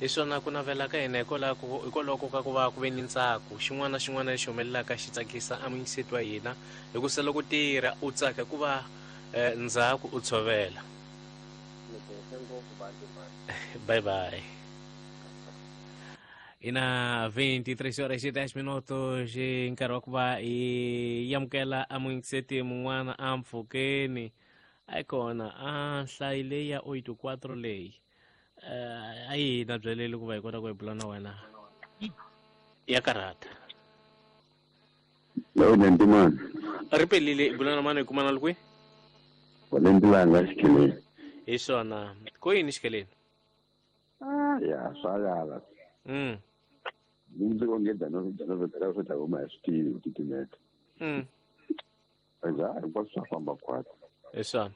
Hi swona ku navela ka hina hikwalaho ka ku va ku ve ni ntsako. Xin'wana na xin'wana lexi humelelaka xi tsakisa a muyingiseti wa hina hikusa loko tirha u tsaka hikuva ndzhaku u tshovela. Bye bye. Ina 23 horas e 10 minutos i nkarhi wa ku va hi amukela a muyingiseti mun'wana a mpfhukeni a yi kona a nhlayi leyi ya 84 leyi a yi na byeleli ku va hi kota ku hi bula na wena ya karhata. Lowu Nyantimani. Ri pelile i bula na mani hi kumana li kwihi? Valentilanga Xikheleni. Hi swona ko yini Xikheleni? Ah, ya swa yala. Ndzi ongeda no no no swi ta huma hi swi tivi ku titimeta. Eza hinkwaswo swa famba khwatsi. Hi swona.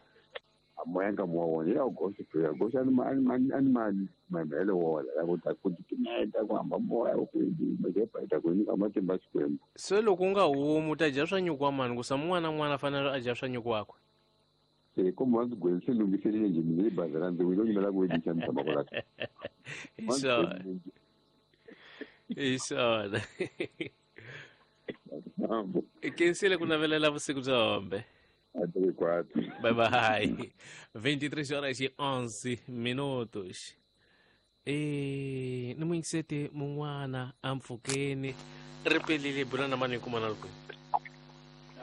A moya nga moya wona ya goxa ya goxa ni mani mani ani mani mavele wona ya ku ta ku titimeta ku hamba moya ku yi ta ku nyika matimba Xikwembu. Se loko u nga humi u ta dya swa nyuku wa mani ku sa mun'wana na mun'wana a fanele a dya swa nyuku wakwe. Se komba ndzi gweni se lunghiselile njhe mina bazi ra ndzi wile nyimela ku wedisa ni tshama kwala. Hi swona. Hi swona. Kensile ku navelela vusiku bya hombe. Bye bye. 23 horas e 11 minutos. E ni muyingiseti mun'wana a mpfhukeni ri pelile bula na mani hi kumana loko.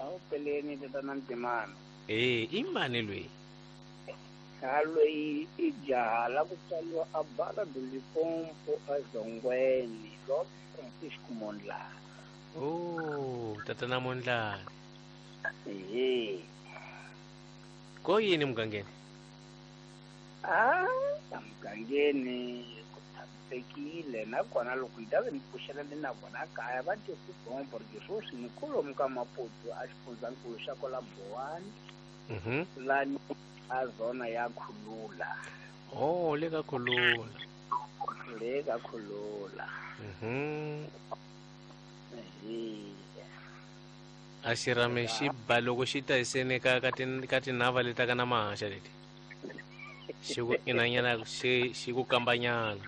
Awu peleni tatana Ntimana. E i mani loyi? Ha loyi i jaha la ku tswariwa a Barra do Limpopo a Zongweni Lot Francisco Mondlane. Oh, tatana Mondlane. Ehe. Ko yini mugangeni? Ah, mugangeni ku tshamisekile nakona loko ni ta ve ni pfuxelele na vona kaya va twe ku bombo ri sweswi ni kolomu ka Maputo a xifundzankulu xa kwala Bowani. Lani a zona ya Khulula. Oh, le ka Khulula. Le ka Khulula. A xirhami xi ba loko xi ta hiseni ka ka ka tinhava leti ka na mahaxa leti. Xi ku inanyana xi xi ku kambanyana.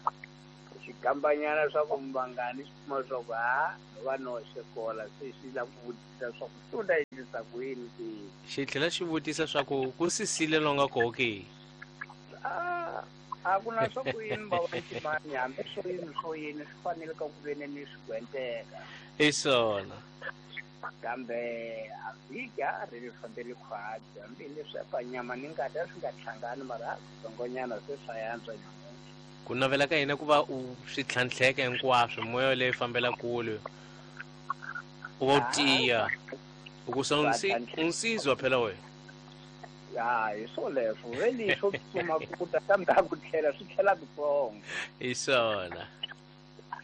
Xi kambanyana swa ku mvangani xi kuma swa ku ha va noxe kola se xi la ku vutisa swa ku swi ta endlisa ku yini ke. Xi tlhela xi vutisa swa ku ku sisile longa koho ke. A ku na swa ku yini va Ntimani hambi swo yini swo yini swi fanele ka ku veni ni swi gwenteka. Hi swona. Kambe a vhiki a ri ri fambeli khwatsi hambi leswi pa nyama ni ngati a swi nga hlangani mara a kutsongonyana se swa yantswa nyamuntlha. Ku navela ka hina ku va u swi tlhantlheka hinkwaswo moya leyi fambela kule u va u tiya ukusa unsizwa phela wena. Ya hi swoleswo veli swo tsutsuma ku ta kambe a ku tlhela swi tlhela kutsongo. Hi swona.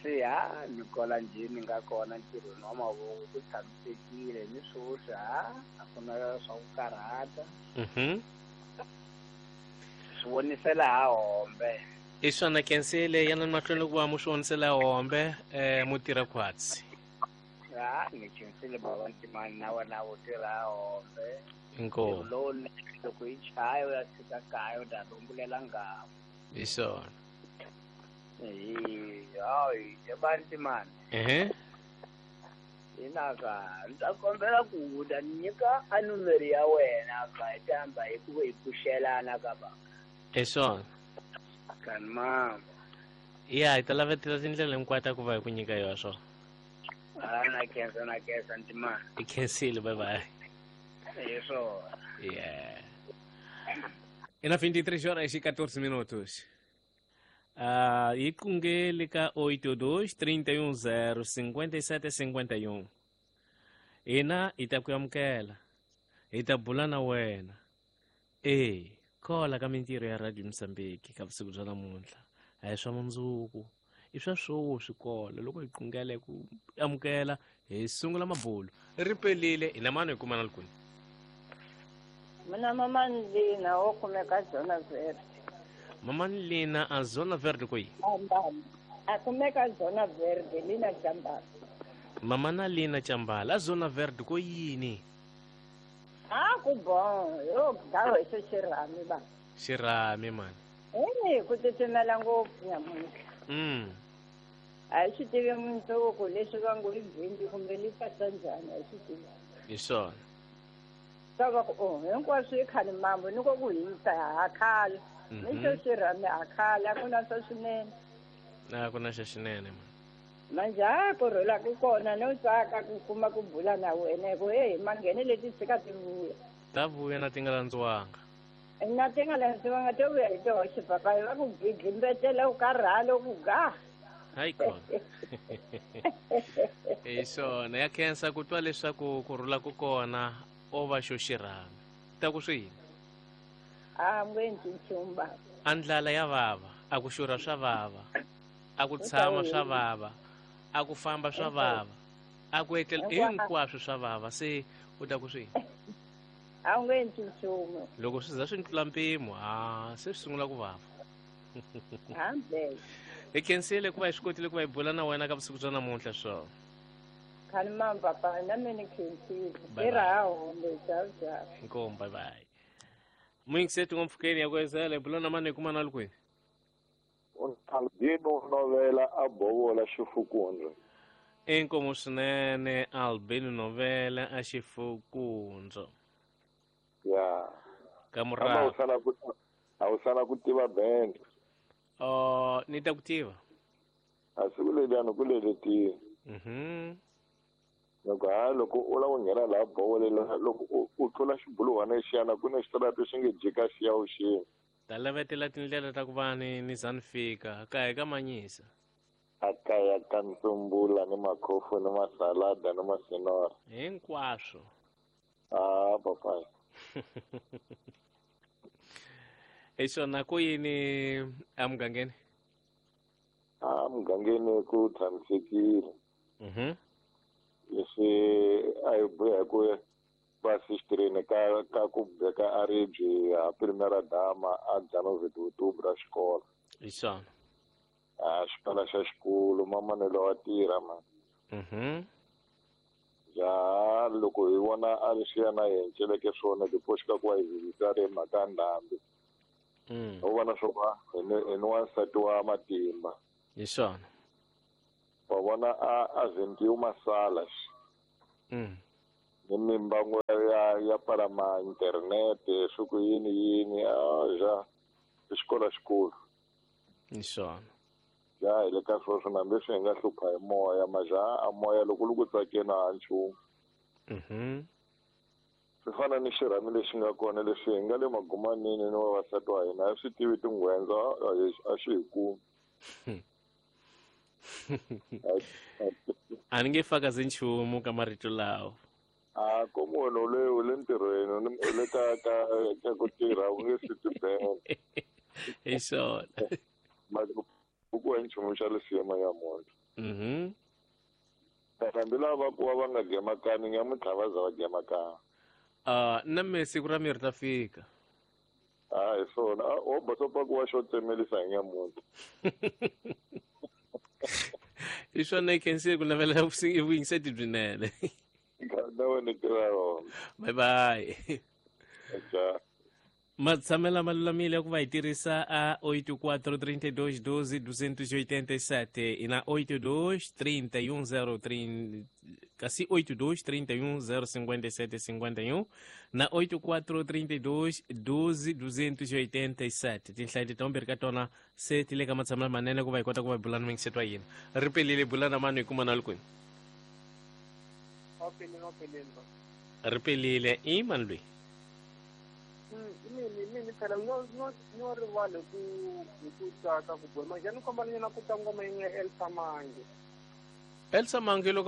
Se ha ni kola njhe ni nga kona ntirhweni wa mavoko ku tshamisekile ni swoswi ha a ku na swa ku karhata. Swi vonisela ha hombe. I swona kensile yana mahlweni ku va mu swi vonisela hombe mu tirha khwatsi. Ha ni khensile bava Ntimani na wena u tirha hombe. Inkomu. Lowunene loko yi chaya u ya fika kaya u ta rungulela ngamu. Hi swona. Hayi eba Ntimani. Ina ka ni ta kombela ku u ta ni nyika a numero ya wena ka hi ta hamba hi ku hi pfuxelana ka va. Hi swona. Kani mama. Ya hi ta lavetela tindlela hinkwato ta ku va hi ku nyika yona swona. Ah, na khensa na khensa Ntimani. I khensile bye bye. Hi swona. Yeah. Ina 23 horas e 14 minutos. Yi qungeli ka 82 310 57 51. Hina hi ta ku amukela. Hi ta bula na wena. E kola ka mintirho ya Radio Mozambique ka vusiku bya namuntlha. A hi swa mundzuku. I swa swoswi kola loko hi qungele ku amukela hi sungula mabulo. Ri pelile hi na mani hi kumana likuni. Mina mama Lina wo kumeka Zona Verde. Mama Lina a Zona Verde kwihi? A kumeka Zona Verde Lina Chambala. Mama na Lina Chambala a Zona Verde ko yini? A ku bon, yo dawo hi xirhami ba. Xirhami mani. Eh, ku titimela ngopfu nyamuntlha. A hi swi tivi mundzuku leswi va ngo i bindi kumbe li pasa njhani, a hi swi tivi. Hi swona. Ta va ku oh hinkwaswo i khale mambo ni ko ku hisa ha khala. Ni xo xirhami ha khala, a ku na swa swinene. A ku na xa xinene man. Manje ha ku rhula ku kona no tsaka ku kuma ku bula na wena hi ku heyi manghene leti tshika ti vuya. Ta vuya na ti nga landziwanga. Na ti nga landziwanga to vuya hi toxe papa, va ku gidlimbetela u karhala u ku ga. Hayi kona. Hi swona ya khensa ku twa leswaku ku rhula ku kona o va xo xirhami. Ta ku swi yini? A nge endli nchumu baba. A ndlala ya vava, a ku xurha swa vava, a ku tshama swa vava, a ku famba swa vava, a ku etlela hinkwaswo swa vava, se u ta ku swi yini? A wu nge endli nchumu. Loko swi za swi tlula mpimo, ha se swi sungula ku vava. Hambe. Hi khensile ku va hi swi kotile ku va hi bula na wena ka vusiku bya namuntlha swona. Khani mam papa, na mina ni khensile. Bye bye. Tirha ha hombe, ciao ciao. Inkomu, bye bye. Muyingiseti ngomfukeni ya kwezela hi bula na mani hi kuma na kwini? Albino Novela a bovola xifukundza. Inkomu swinene Albino Novela a xifukundza. Ya. Ka Kama murava. a wu sala ku tiva band. Oh, ni ta ku tiva. A siku leriya ku leletile. Loko ha loko u lava ku nghena laha bovolela loko u tlula xibuluhwana lexiyana ku na xitarata xi nge jika xi ya vuxeni. Ta lavetela tindlela ta ku va ni za ni fika ka hi ka manyisa. A kaya ka ntsumbula ni makhofu ni masalada ni masinora. Hinkwaswo. Ah, papa. Hi swona ku yini emugangeni? A mugangeni ku tshamisekile. Leswi a hi buya hi ku va sixtrini ka ku beka a ribye ha primera dama a Janovet Utubra xikolo. Hi swona. A xikolo xa xikolo mamanelo wa tirha man. Ja loko hi vona a ri swi ya na hi enceleke swona tipoxi ka ku va hi vhizita ri mhaka ya ndhambi. U vona swo va hi ni wansati wa matimba. Hi swona. Wa vona a zendiwe masala. Ni mimbango ya palama internet swi ku yini yini a ja xikolo xikulu. Hi swona. Ja hi le ka sweswo na leswi hi nga hlupha hi moya maja a moya loko lu ku tsakeni a nchumu. Swi fana ni xirhami lexi nga kona leswi hi nga le magumanini ni vavasati wa hina a swi tivi tinghwendza a xi hi kumi. A ni nge fakazi nchumu ka marito lawa. A ko munhu u le ntirhweni u le ka ku tirha u nge swi tibela. Hi swona. Ku wa nchumu xa lesiyema ya munhu. Hambi lava ku va va nga gemakani nyamuntlha va za va gemakana. Na me siku ra miri ta fika. A hi swona. O bosopa ku wa xo tsemelisa hi nyamuntlha. Hi swona hi khensile ku navela vuyingiseti byinene. Na wena tirha rona. Bye bye. Ja. Matshamela malulamile ya ku va hi tirhisa a 84 32 12 287 i na 82 31 03 kasi 82 31 057 51 na 84 32 12 287. Tinhlayo leti timbirhi ka tona se ti le ka matshamela manene ku va hi kota ku va hi bula na mingiseto wa hina. Ri pelile bula na mani hi kuma na kwini? Ri pelile i mani loyi? Mini phela no rivale ku hi ku tsaka ku bula manje ni kombela nyana ku twa ngoma yin'we ya Elsa Mange. Elsa Mange loko